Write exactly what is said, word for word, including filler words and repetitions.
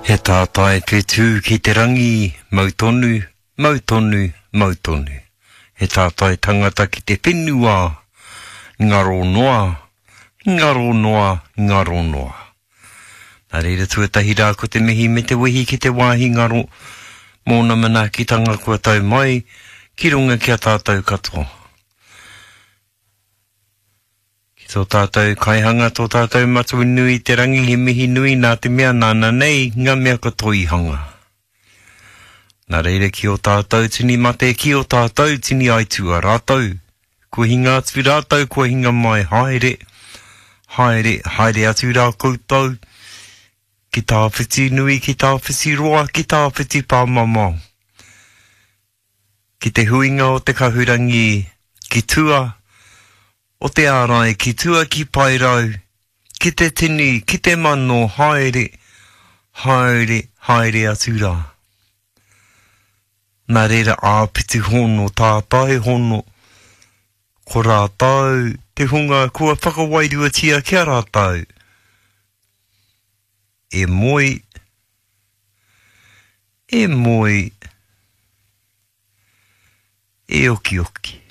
He tātai whetū ki te rangi, mau tonu, mau tonu, mau tonu. He tātai tangata ki te whenua, ngaro noa, ngaro noa, ngaro noa. Nā reira tuatahi rā ko te mihi me te wehi ki te wāhi ngaro, mōna manaakitanga kua tau mai, ki runga ki a tātou katoa. Ki tō tātou kaihanga, tō tātou matua nui te rangi, he mihi nui nā te mea nāna nei ngā mea katoa i hanga. Nā reira ki o tātou tini mate, ki o tātou tini aitua rātou. Kua hinga atu rātou, kua hinga mai, haere, haere, haere atu rā koutou, ki tāwhiti nui, ki tāwhiti roa, ki tāwhiti pāmamao. Ki te huinga o te kahurangi, ki tua, o te ārai, ki tua ki Paerau, ki te tini, ki te mano, haere, haere, haere atu rā. Nā reira āpiti hono, tātai hono, ko rātou, te hunga kua whakawairuatia ki a rātou. E moe, e moe, e okioki.